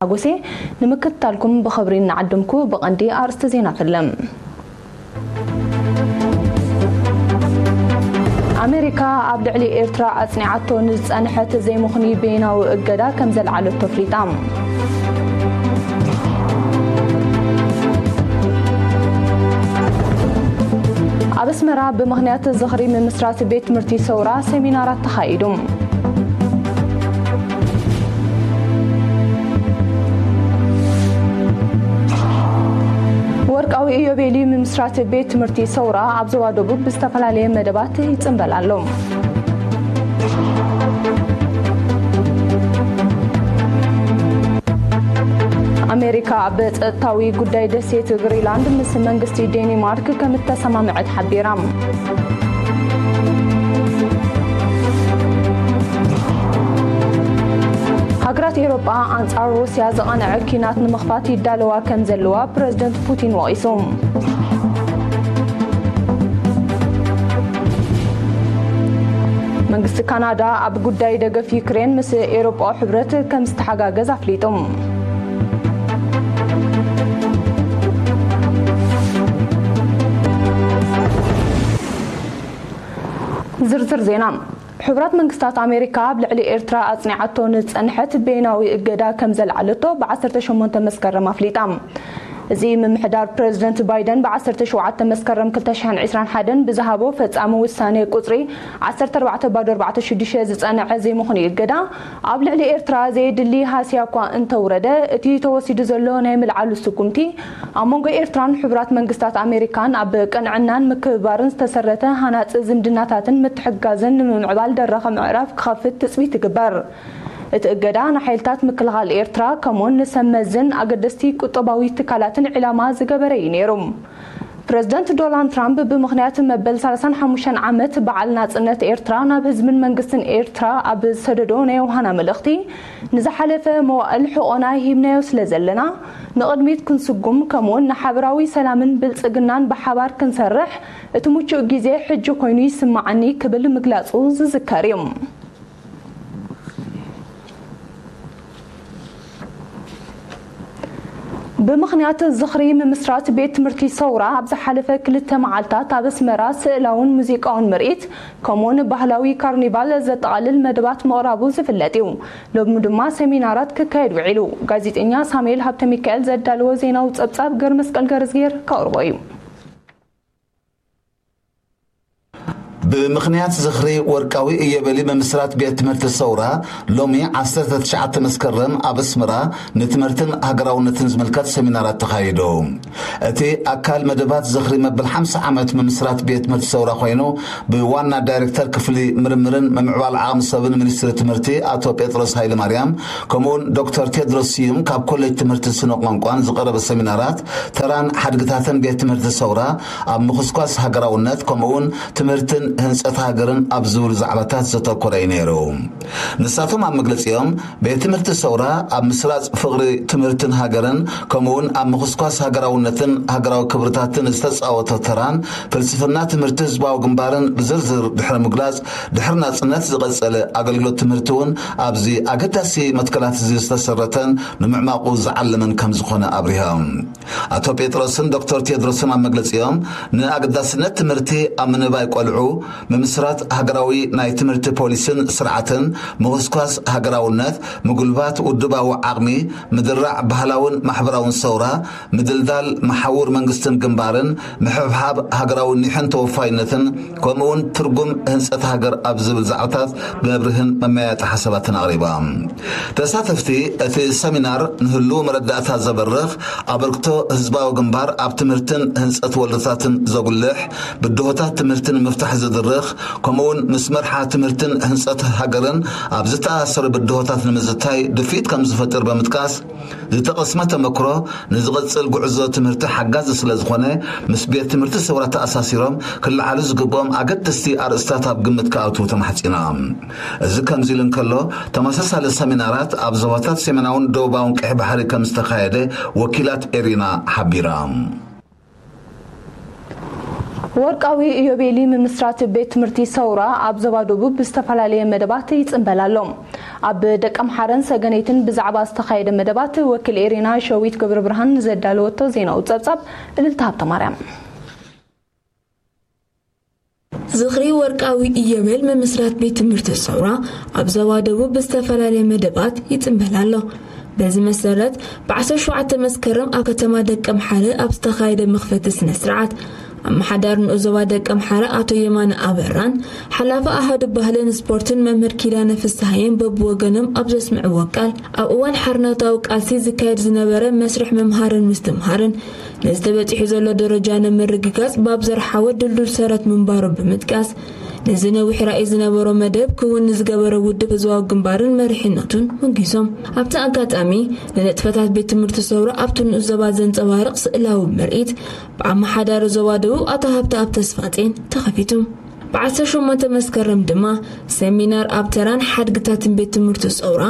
ሓጎሴ። ንምክትታልኩም ብኽብሪ እናዓደምኩ፣ ብቐንዲ ኣርእስቲ ዜና ፈለም። ኣሜሪካ ኣብ ልዕሊ ኤርትራ ኣጽኒዓቶ ንዝጸንሐት ዘይምኽኑይ በይናዊ እገዳ ከም ዘልዓለቶ ኣፍሊጣ። ኣብ ኣስመራ ብምኽንያት ዝኽሪ ምምስራት ቤት ትምህርቲ ሰውራ ሰሚናራት ተኻይዱ። ወርቃዊ ኢዮቤልዩ ምምስራት ቤት ትምህርቲ ሰውራ ኣብ ዞባ ደቡብ ብዝተፈላለየ መደባት ይጽንበል ኣሎ። ኣሜሪካ ኣብ ጸጥታዊ ጉዳይ ደሴት ግሪንላንድ ምስ መንግስቲ ዴኒማርክ ከም እተሰማምዐት ሓቢራ። ሃገራት ኤውሮጳ ኣንጻር ሩስያ ዝቐንዐ ኲናት ንምኽፋት ይዳለዋ ከም ዘለዋ ፕረዚደንት ፑቲን ወቒሱ። መንግስቲ ካናዳ ኣብ ጉዳይ ደገፍ ዩክሬን ምስ ኤውሮጳዊ ሕብረት ከም ዝተሓጋገዝ ኣፍሊጡ። ዝርዝር ዜና። ሕቡራት መንግስታት ኣሜሪካ ኣብ ልዕሊ ኤርትራ ኣጽኒዓቶ ንዝጸንሐት በይናዊ እገዳ ከም ዘልዓለቶ ብ ዓሰርተ ሸሞንተ መስከረም ኣፍሊጣ። እዚ ምምሕዳር ፕረዚደንት ባይደን ብ ዓሰርተ ሸውዓተ መስከረም ክልተ ሽሕን ዕስራን ሓደን ብዝሃቦ ፈጻሚ ውሳኔ ቁጽሪ ዓሰርተ ኣርባዕተ ባዶ ኣርባዕተ ሽዱሽተ ዝጸንዐ ዘይምኽኑይ እገዳ ኣብ ልዕሊ ኤርትራ ዘየድሊ ሃስያ እኳ እንተውረደ፣ እቲ ተወሲዱ ዘሎ ናይ ምልዓሉ ስጉምቲ ኣብ መንጎ ኤርትራን ሕቡራት መንግስታት ኣሜሪካን ኣብ ቅንዕናን ምክብባርን ዝተሰረተ ሃናጺ ዝምድናታትን ምትሕግጋዝን ንምምዕባል ደረኸ ምዕራፍ ክኸፍት ትጽቢት ይግበር። እቲ እገዳ ንሓይልታት ምክልኻል ኤርትራ ከምኡውን ንሰብ መዝን ኣገደስቲ ቁጠባዊ ትካላትን ዒላማ ዝገበረ እዩ ነይሩ። ፕረዚደንት ዶናልድ ትራምፕ ብምኽንያት መበል ሰላሳን ሓሙሽተን ዓመት በዓል ናጽነት ኤርትራ ናብ ህዝብን መንግስትን ኤርትራ ኣብ ዝሰደዶ ናይ ዮሃና መልእኽቲ፣ ንዝሓለፈ መዋእል ሕቖና ሂብናዮ ስለ ዘለና፣ ንቕድሚት ክንስጉም ከምኡውን ንሓበራዊ ሰላምን ብልጽግናን ብሓባር ክንሰርሕ እቲ ምቹእ ግዜ ሕጂ ኮይኑ ይስምዓኒ ክብል ምግላጹ ዝዝከር እዩ። ብምኽንያት ዝኽሪ ምምስራት ቤት ትምህርቲ ሰውራ ኣብ ዝሓለፈ ክልተ መዓልታት ኣብ ኣስመራ ስእላውን ሙዚቃውን ምርኢት ከምኡውን ባህላዊ ካርኒቫል ዘጠቓልል መደባት ምቕራቡ ዝፍለጥ እዩ። ሎሚ ድማ ሰሚናራት ክካየድ ውዒሉ። ጋዜጠኛ ሳሙኤል ሃብተ ሚካኤል ዘዳለዎ ዜናዊ ጸብጻብ ገርመስቀል ገርዝጌር ከቕርቦ እዩ። ብምኽንያት ዝኽሪ ወርቃዊ ኢዮቤልዩ ምምስራት ቤት ትምህርቲ ሰውራ፣ ሎሚ ዓሰርተ ትሽዓተ መስከረም ኣብ ኣስመራ ንትምህርትን ሃገራውነትን ዝምልከት ሰሚናራት ተኻይዱ። እቲ ኣካል መደባት ዝኽሪ መበል ሓምሳ ዓመት ምምስራት ቤት ትምህርቲ ሰውራ ኮይኑ፣ ብዋና ዳይሬክተር ክፍሊ ምርምርን ምምዕባል ዓቕሚ ሰብን ሚኒስትሪ ትምህርቲ ኣቶ ጴጥሮስ ሃይለማርያም፣ ከምኡውን ዶክተር ቴድሮስ ስዩም ካብ ኮሌጅ ትምህርቲ ስነ ቋንቋን ዝቐረበ ሰሚናራት፣ ተራን ሓድግታትን ቤት ትምህርቲ ሰውራ ኣብ ምኹስኳስ ሃገራውነት፣ ከምኡውን ትምህርትን ህንጸት ሃገርን ኣብ ዝብሉ ዛዕባታት ዘተኮረ እዩ ነይሩ። ንሳቶም ኣብ መግለጺኦም፣ ቤት ትምህርቲ ሰውራ ኣብ ምስራጽ ፍቕሪ ትምህርትን ሃገርን፣ ከምኡውን ኣብ ምኹስኳስ ሃገራውነትን ሃገራዊ ክብርታትን ዝተጻወቶ ተራን፣ ፍልስፍና ትምህርቲ ህዝባዊ ግንባርን ብዝርዝር ድሕሪ ምግላጽ፣ ድሕሪ ናጽነት ዝቐጸለ ኣገልግሎት ትምህርቲ እውን ኣብዚ ኣገዳሲ መትከላት እዚ ዝተሰረተን ንምዕማቑ ዝዓለመን ከም ዝኾነ ኣብሪሆም። ኣቶ ጴጥሮስን ዶክተር ቴድሮስን ኣብ መግለጺኦም፣ ንኣገዳስነት ትምህርቲ ኣብ ምንባይ ቆልዑ፣ ምምስራት ሃገራዊ ናይ ትምህርቲ ፖሊስን ስርዓትን፣ ምኹስኳስ ሃገራውነት፣ ምጉልባት ውድባዊ ዓቕሚ፣ ምድራዕ ባህላውን ማሕበራውን ሰውራ፣ ምድልዳል መሓውር መንግስትን ግንባርን፣ ምሕብሓብ ሃገራዊ ኒሕን ተወፋይነትን፣ ከምኡውን ትርጉም ህንጸት ሃገር ኣብ ዝብል ዛዕባታት መብርህን መመያየጢ ሓሳባትን ኣቕሪባ። ተሳተፍቲ እቲ ሰሚናር ንህሉው መረዳእታ ዘበርኽ ኣበርክቶ ህዝባዊ ግንባር ኣብ ትምህርትን ህንጸት ወለዶታትን ዘጉልሕ፣ ብድሆታት ትምህርቲ ንምፍታሕ ዝድርኽ፣ ከምኡውን ምስ መርሓ ትምህርትን ህንጸት ሃገርን ኣብ ዝተኣሳሰሩ ብድሆታት ንምዝታይ ድፍኢት ከም ዝፈጥር ብምጥቃስ፣ ዝተቐስመ ተመክሮ ንዝቕጽል ጉዕዞ ትምህርቲ ሓጋዚ ስለ ዝኾነ፣ ምስ ቤት ትምህርቲ ሰውራ ተኣሳሲሮም ክለዓሉ ዝግብኦም ኣገደስቲ ኣርእስታት ኣብ ግምት ክኣትዉ ተማሕጺኖም። እዚ ከምዚ ኢሉ እንከሎ፣ ተመሳሳሊ ሰሚናራት ኣብ ዞባታት ሰሜናውን ደቡባውን ቀይሕ ባሕሪ ከም ዝተኻየደ ወኪላት ኤሪና ሓቢራ። ወርቃዊ ኢዮቤሊ ምምስራት ቤት ትምህርቲ ሰውራ ኣብ ዞባ ደቡብ ብዝተፈላለየ መደባት ይጽንበል ኣሎ። ኣብ ደቀምሓረን ሰገነይትን ብዛዕባ ዝተኻየደ መደባት ወኪል ኤሪና ሸዊት ገብረ ብርሃን ዘዳለወቶ ዜናዊ ጸብጻብ። እልልታ ሃብተ ማርያም። ዝኽሪ ወርቃዊ ኢዮቤል ምምስራት ቤት ትምህርቲ ሰውራ ኣብ ዞባ ደቡብ ብዝተፈላለየ መደባት ይጽንበል ኣሎ። በዚ መሰረት፣ ብ17 መስከረም ኣብ ከተማ ደቀምሓረ ኣብ ዝተኻየደ መኽፈቲ ስነ ስርዓት፣ ኣመሓዳሪ ንኡስ ዞባ ደቀምሓረ ኣቶ የማነ ኣበራን ሓላፊ ኣሃዱ ባህልን ስፖርትን መምህር ኪዳነ ፍስሃየን በብወገኖም ኣብ ዘስምዕዎ ቃል፣ ኣብ እዋን ሓርነታዊ ቃልሲ ዝካየድ ዝነበረ መስርሕ ምምሃርን ምስትምሃርን ነዚ ተበጺሑ ዘሎ ደረጃ ንምርግጋጽ ባብ ዘርሓወ ድልዱል ሰረት ምንባሩ ብምጥቃስ፣ ነዚ ነዊሕ ራእይ ዝነበሮ መደብ ክውን ንዝገበረ ውድብ ህዝባዊ ግንባርን መሪሕነቱን ሞጊሶም። ኣብቲ ኣጋጣሚ፣ ንንጥፈታት ቤት ትምህርቲ ሰውራ ኣብቲ ንኡስ ዞባ ዘንጸባርቕ ስእላዊ ምርኢት ብኣመሓዳሪ ዞባ ደቡብ ኣቶ ሃብተኣብ ተስፋጼን ተኸፊቱ። ብ18 መስከረም ድማ፣ ሰሚናር ኣብ ተራን ሓድግታትን ቤት ትምህርቲ ሰውራ፣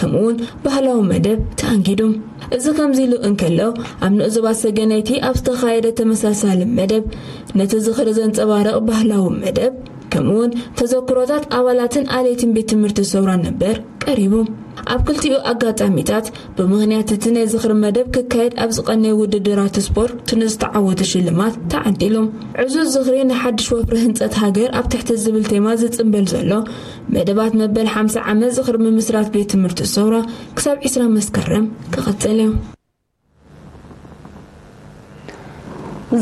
ከምኡውን ባህላዊ መደብ ተኣንጊዱ። እዚ ከምዚ ኢሉ እንከሎ፣ ኣብ ንኡስ ዞባ ሰገነይቲ ኣብ ዝተኻየደ ተመሳሳሊ መደብ፣ ነቲ ዝኽሪ ዘንጸባርቕ ባህላዊ መደብ፣ ከምኡውን ተዘክሮታት ኣባላትን ኣለይትን ቤት ትምህርቲ ሰውራ ነበር ቀሪቡ። ኣብ ክልቲኡ ኣጋጣሚታት፣ ብምኽንያት እቲ ናይ ዝኽሪ መደብ ክካየድ ኣብ ዝቐነየ ውድድራት ስፖርት ንዝተዓወቱ ሽልማት ተዓዲሉ። ዕዙዝ ዝኽሪ ንሓድሽ ወፍሪ ህንጸት ሃገር ኣብ ትሕቲ ዝብል ቴማ ዝጽንበል ዘሎ መደባት መበል ሓምሳ ዓመት ዝኽሪ ምምስራት ቤት ትምህርቲ ሰውራ ክሳብ ዕስራ መስከረም ክቕጽል እዩ።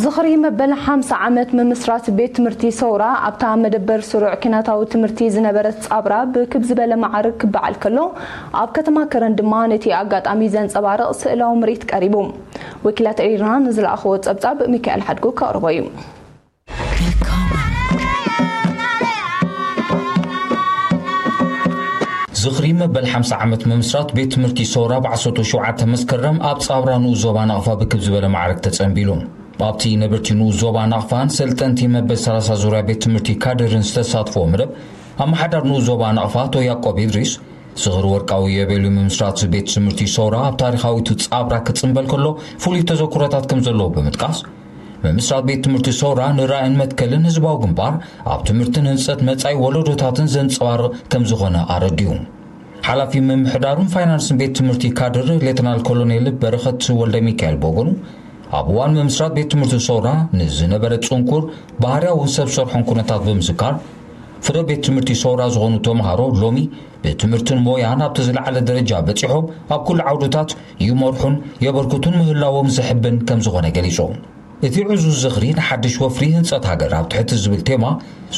ዝኽሪ መበል ሓምሳ ዓመት ምምስራት ቤት ትምህርቲ ሰውራ ኣብታ መደበር ስሩዕ ኪናታዊ ትምህርቲ ዝነበረት ጻብራ ብክብ ዝበለ መዓርግ ክበዓል ከሎ፣ ኣብ ከተማ ከረን ድማ ነቲ ኣጋጣሚ ዘንጸባርቕ ስእላዊ ምርኢት ቀሪቡ። ወኪላት ኤሪና ንዝለኣኽዎ ጸብጻብ ሚካኤል ሓድጉ ከቕርቦ እዩ። ዝኽሪ መበል ሓምሳ ዓመት ምምስራት ቤት ትምህርቲ ሰውራ ብ17 መስከረም ኣብ ጻብራ ንኡስ ዞባ ናቕፋ ብክብ ዝበለ ማዕረግ ተጸንቢሉ። ኣብቲ ነበርቲ ንኡስ ዞባ ናቕፋን ሰልጠንቲ መበል ሰላሳ ዙርያ ቤት ትምህርቲ ካድርን ዝተሳትፎ መደብ፣ ኣመሓዳር ንኡስ ዞባ ናቕፋ ኣቶ ያዕቆብ ኢድሪስ፣ ዝኽሪ ወርቃዊ ኢዮቤልዩ ምምስራት ቤት ትምህርቲ ሰውራ ኣብ ታሪኻዊቱ ጻብራ ክጽንበል ከሎ፣ ፍሉይ ተዘክሮታት ከም ዘለዎ ብምጥቃስ፣ ምምስራት ቤት ትምህርቲ ሰውራ ንራእይን መትከልን ህዝባዊ ግንባር ኣብ ትምህርትን ህንጸት መጻኢ ወለዶታትን ዘንጸባርቕ ከም ዝኾነ ኣረዲኡ። ሓላፊ ምምሕዳርን ፋይናንስን ቤት ትምህርቲ ካድር ሌተናል ኮሎኔል በረኸት ወልደ ሚካኤል በጎኑ፣ ኣብ እዋን ምምስራት ቤት ትምህርቲ ሰውራ ንዝነበረ ጽንኩር ባህርያውን ሰብ ሰርሖን ኩነታት ብምዝካር፣ ፍረ ቤት ትምህርቲ ሰውራ ዝኾኑ ተምሃሮ ሎሚ ብትምህርትን ሞያን ኣብቲ ዝለዓለ ደረጃ በጺሖም ኣብ ኩሉ ዓውድታት ይመርሑን የበርክቱን ምህላዎም ዘሕብን ከም ዝኾነ ገሊጹ። እቲ ዕዙዝ ዝኽሪ ንሓድሽ ወፍሪ ህንጸት ሃገር ኣብ ትሕቲ ዝብል ቴማ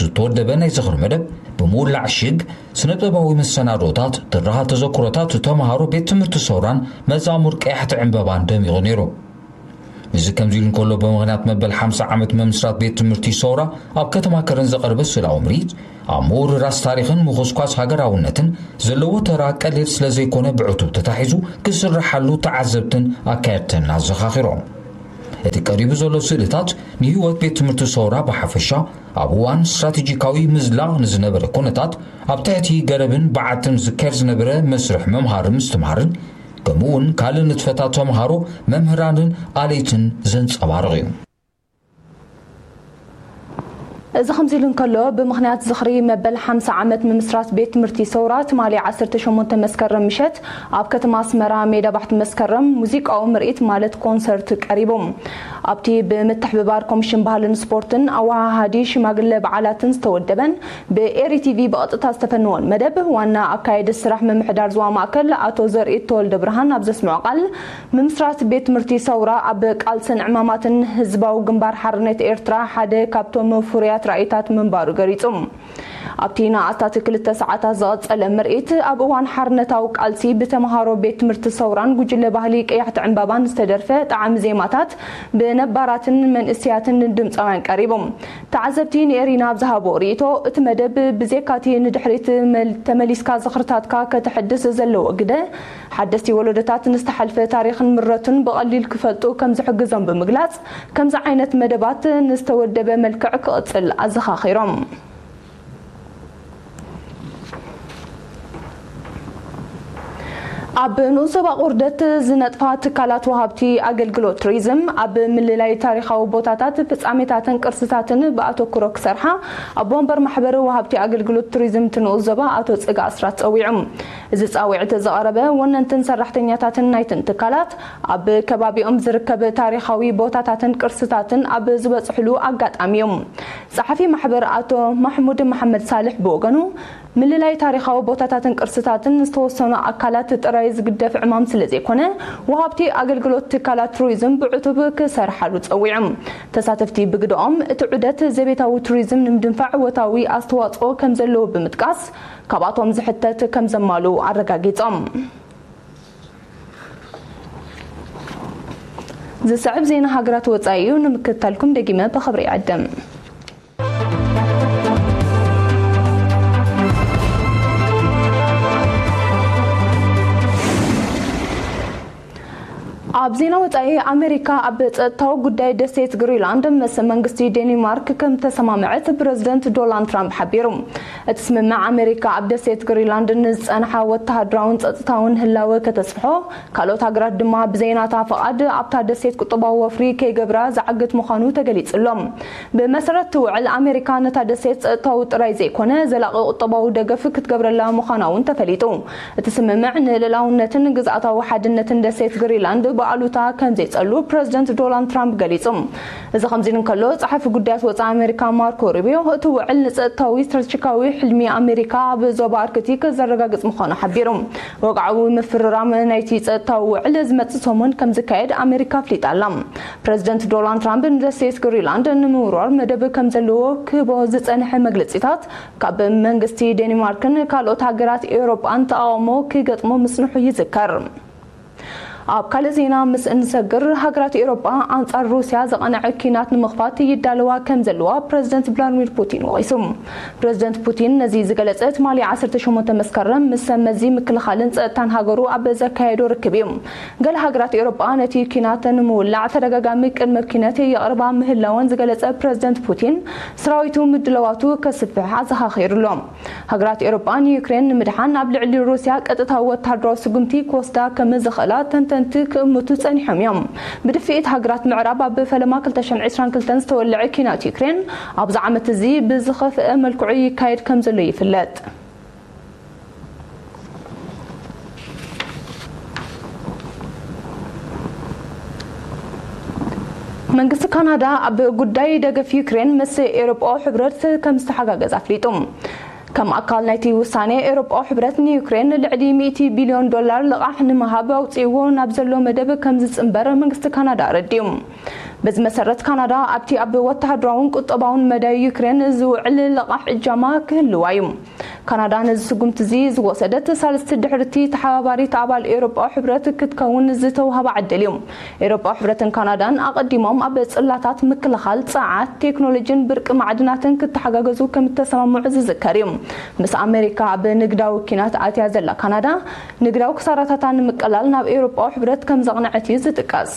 ዝተወደበ ናይ ዝኽሪ መደብ ብምውላዕ ሽግ ስነ ጥበባዊ መሰናዶታት፣ ትረኻ ተዘክሮታት ተምሃሮ ቤት ትምህርቲ ሰውራን መዛሙር ቀያሕቲ ዕምበባን ደሚቑ ነይሩ። እዚ ከምዚ ኢሉ እንከሎ፣ ብምኽንያት መበል ሓምሳ ዓመት ምምስራት ቤት ትምህርቲ ሰውራ ኣብ ከተማ ከረን ዘቐርበ ስእላዊ ምርኢት፣ ኣብ ምውርራስ ታሪኽን ምኹስኳስ ሃገራውነትን ዘለዎ ተራ ቀሊል ስለ ዘይኮነ፣ ብዕቱብ ተታሒዙ ክስርሓሉ ተዓዘብትን ኣካየድትን ኣዘኻኺሮም። እቲ ቀሪቡ ዘሎ ስእልታት ንህይወት ቤት ትምህርቲ ሰውራ ብሓፈሻ፣ ኣብ እዋን ስትራቴጂካዊ ምዝላቕ ንዝነበረ ኩነታት፣ ኣብ ትሕቲ ገረብን በዓትን ዝካየድ ዝነበረ መስርሕ ምምሃር ምስትምሃርን፣ ከምኡ እውን ካልእ ንጥፈታት ተምሃሮ፣ መምህራንን ኣለይትን ዘንጸባርቕ እዩ። እዚ ከምዚ ኢሉ እንከሎ፣ ብምኽንያት ዝኽሪ መበል ሓምሳ ዓመት ምምስራት ቤት ትምህርቲ ሰውራ፣ ትማሊ ዓሰርተ ሸሞንተ መስከረም ምሸት ኣብ ከተማ ኣስመራ ሜዳ ባሕቲ መስከረም ሙዚቃዊ ምርኢት ማለት ኮንሰርት ቀሪቡ። ኣብቲ ብምትሕብባር ኮሚሽን ባህልን ስፖርትን ኣወሃሃዲ ሽማግለ በዓላትን ዝተወደበን ብኤሪ ቲቪ ብቐጥታ ዝተፈነወን መደብ፣ ዋና ኣካየዲ ስራሕ ምምሕዳር ዞባ ማእከል ኣቶ ዘርኢ ተወልደ ብርሃን ኣብ ዘስምዖ ቃል፣ ምምስራት ቤት ትምህርቲ ሰውራ ኣብ ቃልስን ዕማማትን ህዝባዊ ግንባር ሓርነት ኤርትራ ሓደ ካብቶም ፍሩያት ራእይታት ምንባሩ ገሊጹ። ኣብቲ ንኣስታት ክልተ ሰዓታት ዝቐጸለ ምርኢት፣ ኣብ እዋን ሓርነታዊ ቃልሲ ብተምሃሮ ቤት ትምህርቲ ሰውራን ጉጅለ ባህሊ ቀያሕቲ ዕምባባን ዝተደርፈ ጣዕሚ ዜማታት ብነባራትን መንእሰያትን ድምጻውያን ቀሪቡ። ተዓዘብቲ ንኤሪና ኣብ ዝሃቦ ርእይቶ፣ እቲ መደብ ብዜካቲ ንድሕሪት መል-፣ ተመሊስካ ዝኽርታትካ ከተሐድስ ዘለዎ ግደ፣ ሓደስቲ ወለዶታት ንዝተሓልፈ ታሪኽን ምረቱን ብቐሊል ክፈልጡ ከም ዝሕግዞም ብምግላጽ፣ ከምዚ ዓይነት መደባት ንዝተወደበ መልክዕ ክቕጽል ኣዘኻኺሮም። ኣብ ንኡስ ዞባ ቁርደት ዝነጥፋ ትካላት ወሃብቲ ኣገልግሎት ቱሪዝም ኣብ ምልላይ ታሪኻዊ ቦታታት፣ ፍጻሜታትን ቅርስታትን ብኣተኩሮ ክሰርሓ ኣቦ ወንበር ማሕበር ወሃብቲ ኣገልግሎት ቱሪዝም እቲ ንኡስ ዞባ ኣቶ ጽጋ ኣስራት ጸዊዑ። እዚ ጻውዒት ዘቐረበ ወነንትን ሰራሕተኛታትን ናይትን ትካላት ኣብ ከባቢኦም ዝርከብ ታሪኻዊ ቦታታትን ቅርስታትን ኣብ ዝበጽሕሉ ኣጋጣሚ እዩ። ጸሓፊ ማሕበር ኣቶ ማሕሙድ መሓመድ ሳልሕ ብወገኑ፣ ምልላይ ታሪኻዊ ቦታታትን ቅርስታትን ዝተወሰኑ ኣካላት ጥራይ ዝግደፍ ዕማም ስለ ዘይኮነ፣ ወሃብቲ ኣገልግሎት ትካላት ቱሪዝም ብዕቱብ ክሰርሓሉ ጸዊዑ። ተሳተፍቲ ብግደኦም፣ እቲ ዑደት ዘቤታዊ ቱሪዝም ንምድንፋዕ ወታዊ ኣስተዋጽኦ ከም ዘለዎ ብምጥቃስ፣ ካብኣቶም ዝሕተት ከም ዘማሉ ኣረጋጊጾም። ዝስዕብ ዜና ሃገራት ወጻኢ እዩ፣ ንምክትታልኩም ደጊመ ብኽብሪ ይዕድም። ኣብ ዜና ወጻኢ፣ ኣሜሪካ ኣብ ጸጥታዊ ጉዳይ ደሴት ግሪንላንድ ምስ መንግስቲ ዴንማርክ ከም ተሰማምዐት ፕረዚደንት ዶናልድ ትራምፕ ሓቢሩ። እቲ ስምምዕ ኣሜሪካ ኣብ ደሴት ግሪንላንድ ንዝጸንሓ ወተሃደራውን ጸጥታውን ህላወ ከተስፍሖ፣ ካልኦት ሃገራት ድማ ብዘይናታ ፍቓድ ኣብታ ደሴት ቁጠባዊ ወፍሪ ከይገብራ ዝዓግት ምዃኑ ተገሊጹ ኣሎ። ብመሰረት እቲ ውዕል፣ ኣሜሪካ ነታ ደሴት ጸጥታዊ ጥራይ ዘይኮነ ዘላቒ ቁጠባዊ ደገፍ ክትገብረላ ምዃና እውን ተፈሊጡ። እቲ ስምምዕ ንልእላውነትን ግዝኣታዊ ሓድነትን ደሴት ግሪንላንድ ብኣሉታ ከም ዘይጸሉ ፕረዚደንት ዶናልድ ትራምፕ ገሊጹ። እዚ ከምዚ እንከሎ፣ ጸሓፊ ጉዳያት ወጻኢ ኣሜሪካ ማርኮ ሩቢዮ፣ እቲ ውዕል ንጸጥታዊ ስትራቴጂካዊ ሕልሚ ኣሜሪካ ኣብ ዞባ ኣርክቲክ ዘረጋግጽ ምዃኑ ሓቢሩ። ወግዓዊ ምፍርራም ናይቲ ጸጥታዊ ውዕል ዝመጽእ ሰሙን ከም ዝካየድ ኣሜሪካ ኣፍሊጣ ኣላ። ፕረዚደንት ዶናልድ ትራምፕ ንደሴት ግሪንላንድ ንምውራር መደብ ከም ዘለዎ ክህቦ ዝጸንሐ መግለጺታት፣ ካብ መንግስቲ ዴንማርክን ካልኦት ሃገራት ኤውሮጳን ተቓውሞ ክገጥሞ ምጽንሑ ይዝከር። ኣብ ካልእ ዜና ምስ እንሰግር፣ ሃገራት ኤውሮጳ ኣንጻር ሩስያ ዘቐንዐ ኲናት ንምኽፋት ይዳለዋ ከም ዘለዋ ፕረዚደንት ቭላድሚር ፑቲን ወቒሱ። ፕረዚደንት ፑቲን ነዚ ዝገለጸ ትማሊ ዓሰርተ ሸሞንተ መስከረም ምስ ሰብ መዚ ምክልኻልን ጸጥታን ሃገሩ ኣብ ዘካየዶ ርክብ እዩ። ገለ ሃገራት ኤውሮጳ ነቲ ኲናት ንምውላዕ ተደጋጋሚ ቅድመ ኲነት የቕርባ ምህላወን ዝገለጸ ፕረዚደንት ፑቲን፣ ሰራዊቱ ምድላዋቱ ከስፍሕ ኣዘኻኺሩ ኣሎ። ሃገራት ኤውሮጳ ንዩክሬን ንምድሓን ኣብ ልዕሊ ሩስያ ቀጥታዊ ወተሃደራዊ ስጉምቲ ክወስዳ ከም ዝኽእላ ተንተንቲ ክእምቱ ጸኒሖም እዮም። ብድፍኢት ሃገራት ምዕራብ ኣብ ፈለማ ክልተ ሽሕን ዕስራን ክልተን ዝተወልዐ ኲናት ዩክሬን ኣብዚ ዓመት እዚ ብዝኸፍአ መልክዑ ይካየድ ከም ዘሎ ይፍለጥ። መንግስቲ ካናዳ ኣብ ጉዳይ ደገፍ ዩክሬን ምስ ኤውሮጳዊ ሕብረት ከም ዝተሓጋገዝ ኣፍሊጡ። ከም ኣካል ናይቲ ውሳኔ፣ ኤውሮጳዊ ሕብረት ንዩክሬን ልዕሊ ሚእቲ ቢልዮን ዶላር ልቓሕ ንምሃብ ኣውጺእዎ ናብ ዘሎ መደብ ከም ዝጽንበር መንግስቲ ካናዳ ኣረዲኡ። በዚ መሰረት፣ ካናዳ ኣብቲ ኣብ ወተሃደራውን ቁጠባውን መዳይ ዩክሬን ዝውዕል ልቓሕ እጃማ ክህልዋ እዩ። ካናዳ ነዚ ስጉምቲ እዚ ዝወሰደት፣ ሳልስቲ ድሕርቲ ተሓባባሪት ኣባል ኤውሮጳዊ ሕብረት ክትከውን ዝተውሃባ ዕድል እዩ። ኤውሮጳዊ ሕብረትን ካናዳን ኣቐዲሞም ኣብ ጽላታት ምክልኻል፣ ጸዓት፣ ቴክኖሎጂን ብርቂ ማዕድናትን ክተሓጋገዙ ከም እተሰማምዑ ዝዝከር እዩ። ምስ ኣሜሪካ ኣብ ንግዳዊ ኲናት ኣትያ ዘላ ካናዳ፣ ንግዳዊ ክሳራታታ ንምቅላል ናብ ኤውሮጳዊ ሕብረት ከም ዘቕንዐት እዩ ዝጥቀስ።